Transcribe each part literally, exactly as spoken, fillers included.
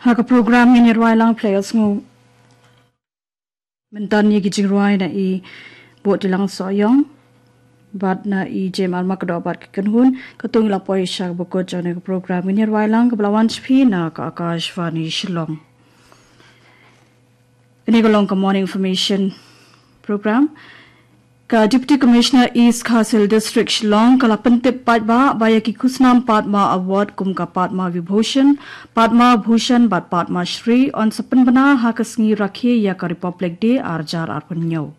Ha ka program ngin ïa rwai lang players ngu. Mynta ïa ki jingrwai na i Bot Tilang Soyong bad na i Jem Arma Kdo bad ki kynhun. Ka tung ila poi sha ka bukut jong ne ka program ngin ïa rwai lang ka bla wan shpi na ka Akashvani Shillong. Ini ka long ka morning information program. Ka Deputy Commissioner East Khasi Hills District Shillong ka la pyntip paidbah ba ïa ki khusnam Padma Award kum ka Padma Vibhushan, Padma Bhushan bad Padma Shri yn sa pynbna ha ka sngi rakhe ïa ka Republic Day arjar arphew.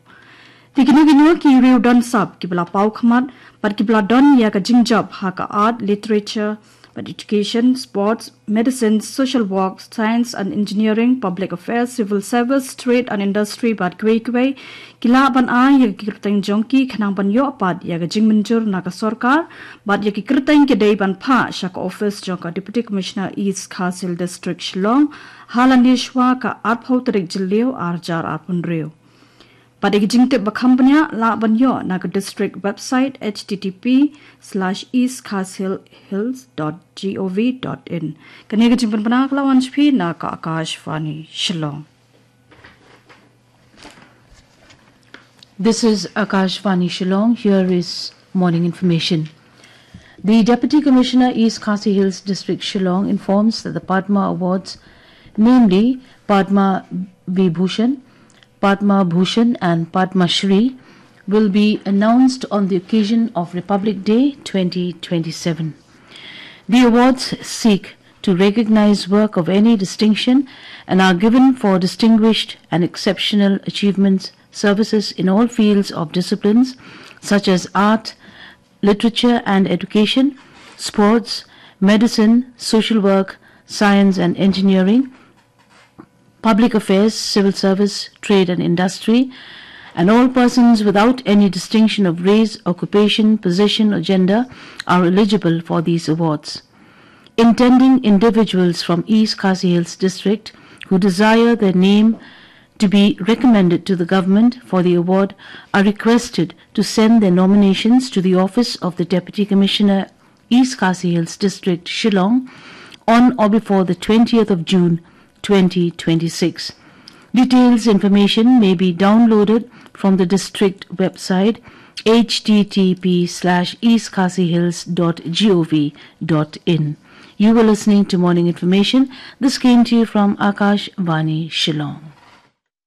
Te kino kino ki riew don sap ki bla paw khmat bad ki bla don ïa ka jingjop ha ka art, literature, bad education, sports, medicine, social work, science and engineering, public affairs, civil service, trade and industry bad kiwei kiwei ki lah ban ai ïa ki kyrteng jong ki khnang ban ïoh pat ïa ka jingmynjur na ka sorkar bad ïa ki kyrteng ki dei ban phah sha ka office jong ka Deputy Commissioner East Khasi Hills District Shillong ha la ne shwa ka arphew tarik Jylliew arjar arphew. Bad ïa ki jingtip ba kham bniah lah ban ïoh na ka district website http slash east khasi hills dot gov dot in. Kane ka jingpynbna ka la wan shpi na ka Akashvani Shillong. This is Akashvani Shillong. Here is morning information. The Deputy Commissioner East Khasi Hills District Shillong informs that the Padma Awards, namely Padma Vibhushan, Padma Bhushan and Padma Shri, will be announced on the occasion of Republic Day twenty twenty-seven. The awards seek to recognize work of any distinction and are given for distinguished and exceptional achievements, services in all fields of disciplines such as art, literature and education, sports, medicine, social work, science and engineering, public affairs, civil service, trade and industry, and all persons without any distinction of race, occupation, position or gender are eligible for these awards. Intending individuals from East Khasi Hills District who desire their name to be recommended to the government for the award are requested to send their nominations to the office of the Deputy Commissioner, East Khasi Hills District, Shillong, on or before the twentieth of June, twenty twenty-six. Details information may be downloaded from the district website, http slash eastkhasihills dot gov dot in. You were listening to Morning Information. This came to you from Akashvani Shillong.